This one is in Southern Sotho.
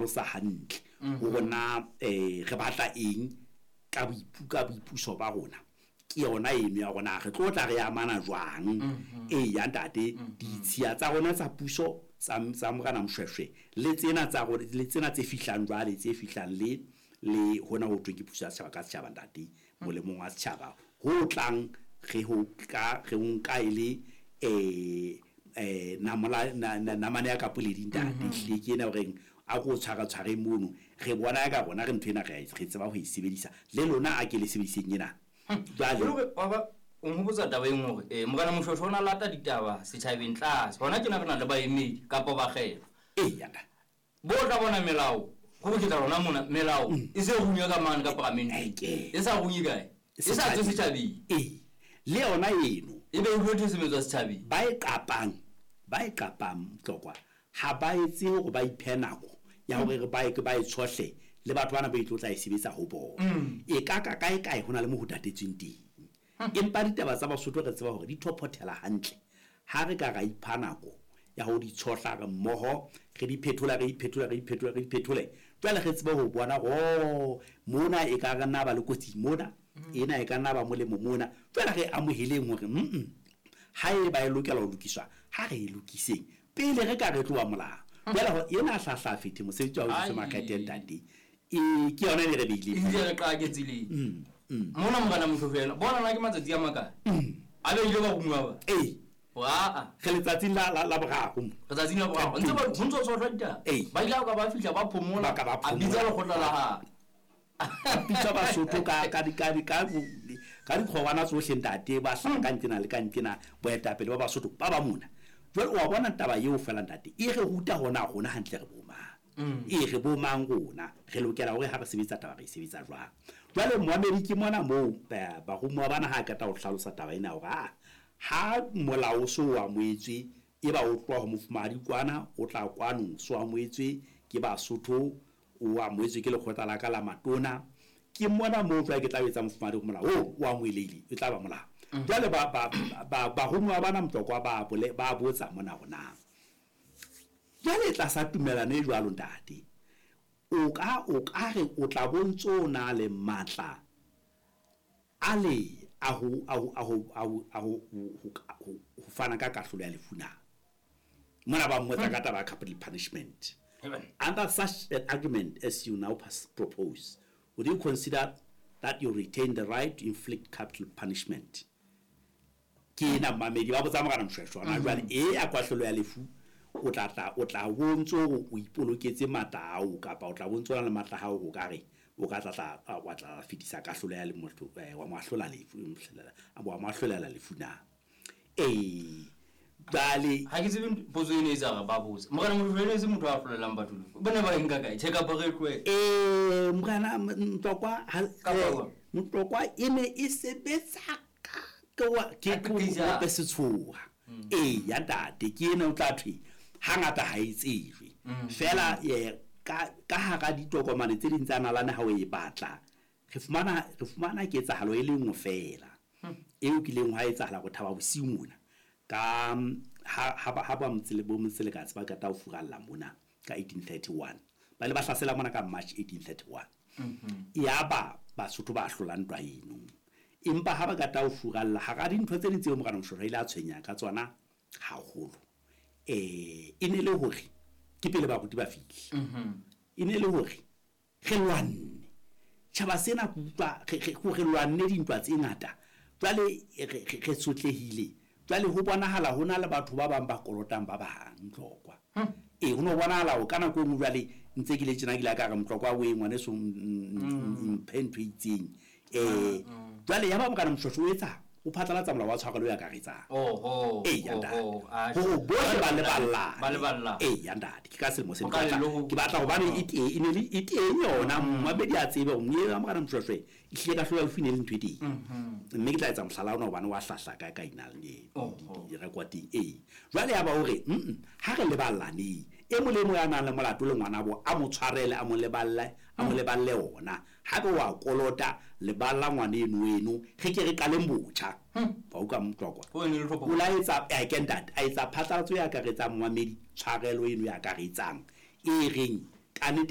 Hlalosa hantle hore na re batla eng ka ka boipuso ba rona. Ke yona eno ya rona, re tlo tla re amana jwang? Ee ya ntate, ditshiya tsa rona tsa puso tsa Morena Moshoeshoe le tsena tsa rona, le tsena tse fihlang jwale, tse fihlang le hona ho thweng ke puso ya setjhaba ka setjhaba, ntate, molemong wa setjhaba, ho tlang re ho ka re ho nka e le namola namane ya ka poledi, ntate. Ehlile ke ena horeng a ko tshwara tshware mono, re bona ka rona re ntho ena re tseba ho e sebedisa, le lona a ke le sebediseng ena jwale. O nhopotsa taba e nngwe hore Morena Moshoeshoe o na lata ditaba setjhabeng tlase. Hona tjena re na le baemedi kapa bakgethwa. Ee ya ntate. Bo tla bona melao, go ke tla rona mona melao e se runywa ka mane ka paramenteng. Eke. E sa runye kae? E sa tswe setjhabeng. Ee, le yona eno. E be e dule thesometswa setjhabeng. Ba e qapang Tlokwa ha ba etse hore ba iphe nako ya hore re ba e ba e tshohle le batho bana ba itlo tla e sebetsa ho bona. E ka ka kae kae ho na le mo ho tatetsweng teng, empa ditaba tsa Basotho re tseba hore di thophothela hantle ha re ka ra ipha nako ya ho di tshohla re mmoho, re di phethola, re di phethola, re di phethola, re di phethole. Jwale re tsebe ho bona hore mona e ka re nna ba le kotsi, mona ena e ka nna ba molemo mona. Jwale re amoheleng hore ha e ba e lokela ho lokiswa, ha re e lokiseng pele re ka re tloha molao. Jwale ho ena hlahla fethe mosebetsi wa ho etsa makgethe, ntate, e ke yona e re beileng. Ebile re qake tseleng. Mona Morena Moshoeshoe ena bona na ke matsatsi a makae a beile baromuwa ba? Ee. Aa. Re letsatsing la boraro mo. Letsatsing la boraro ntse ba ho ntso tshohlwa ditaba. Ba ile ka ba fihla ba phomola. Ba ka ba A bitsa phomola. Lekgotla la hae. Bitsa Basotho ka dikgorwana tsohle, ntate, ba hlaha ka nqena le ka nqena, boetapele ba Basotho ba ba mona. Jwale wa bona taba eo fela, ntate, e re ruta hona rona hantle re bomang. E re bomang rona, re lokela hore ha re sebetsa taba re e sebetsa jwang. Jwale moamedi ke mona moo baromuwa bana ha qeta ho hlalosa taba ena hore ha molao o so o amohetswe, e ba o tloha ho mofumahadi kwana, o tla kwano, so amohetswe ke Basotho, o amohetswe ke lekgotla la ka la matona, ke mona moo jwale ke tla etsa mofumahadi hore molao oo o amohelehile, e tla ba molao. Jwale baromuwa bana Motlokwa ba bole ba botsa mona hore na jwale tlasa tumellano e jwalo, ntate, o ka re o tla bontso o na le matla a le a ho fana ka kahlolo ya lefu na. Mona ba mmotsa ka taba ya capital punishment. Under such an agreement as you now propose, would you consider that you retain the right to inflict capital punishment? Ke ena mamedi ba botsa Morena Moshoeshoe hona jwale e ya kahlolo ya lefu, o tla tla o tla bontso hore o ipoloketse matla ao, kapa o tla bontso o na le matla a hao o ka re o ka tla wa tla fetisa kahlolo ya le motho wa mo ahlola lefu, wa mo ahlolela lefu na? Ee, jwale Ha ke tsebe potso ene e tsa re ba botse Morena Moshoeshoe ene e se motho a hlolelang batho lefu, ba ne ba e nka kae? Tjhe, kapa re tlohele. Morena Mtlokwa Kapa jwang? Mtlokwa e ne e sebetsa ka ke wa ke Ka qeqejana. ke setshoha. Ee ya ntate, ke ena o tla thwe hangata ha e tsejwe fela ka hara ditokomane tse ding tsa nalane. Ha o e batla, re fumana ketsahalo e le nngwe fela eo kileng hwa etsahala go Thaba Bosiu mona ka ha ba motse le bo Motselekatse ba qeta ho furalla mona ka 1831. Ba ile ba hlasela mona ka March 1831, yaba Basotho ba hlola ntwa eno. Empa ha ba qeta ho furalla, hara dintho tse ding tseo Morena Moshoeshoe a ile a tshwenya ka tsona haholo, e ne le hore ke pele baruti ba fihle, e ne le hore re lwanne tjhaba sena, ke utlwa re lwanne dintwa tse ngata, jwale re sotlehile. Jwale ho bonahala ho na le batho ba bang ba kolotang ba bang, Mtlokwa. Ee, ho no bonahala ho ka nako e nngwe jwale ntse ke le tjena, ke ile ka re, Mtlokwa o e ngwaneso, mphe ntho e itseng. Jwale ya ba Morena Moshoeshoe o etsa o phatlalatsa molao wa tshwarelo e akaretsang. Ee ya ntate, hore bohle ba leballane. Ba leballane. Ee ya ntate, ke ka selemo se Ho ka le ke batla hobane e teng, e ne le e teng yona. Mmamedi a tsebe hore moye wa Morena Moshoeshoe e hlile kahlolo ya lefu e ne le ntho e teng, mme ke tla etsa mohlala ona hobane wa hlahla ka ka inang rekoteng. Ee, jwale ya ba hore ha re leballaneng, e mong le mong ya nang le molato le ngwanabo a mo tshwarele, a mo leballe, a mo leballe ona. Haebe wa kolota, leballa ngwaneno eno, re ke re qaleng botjha wa utlwa, Motlokwa? Ho ne le tlhopho. O la etsa ke ntate a etsa phatlalatso e akaretsang, momamedi, tshwarelo eno e akaretsang e reng kannete.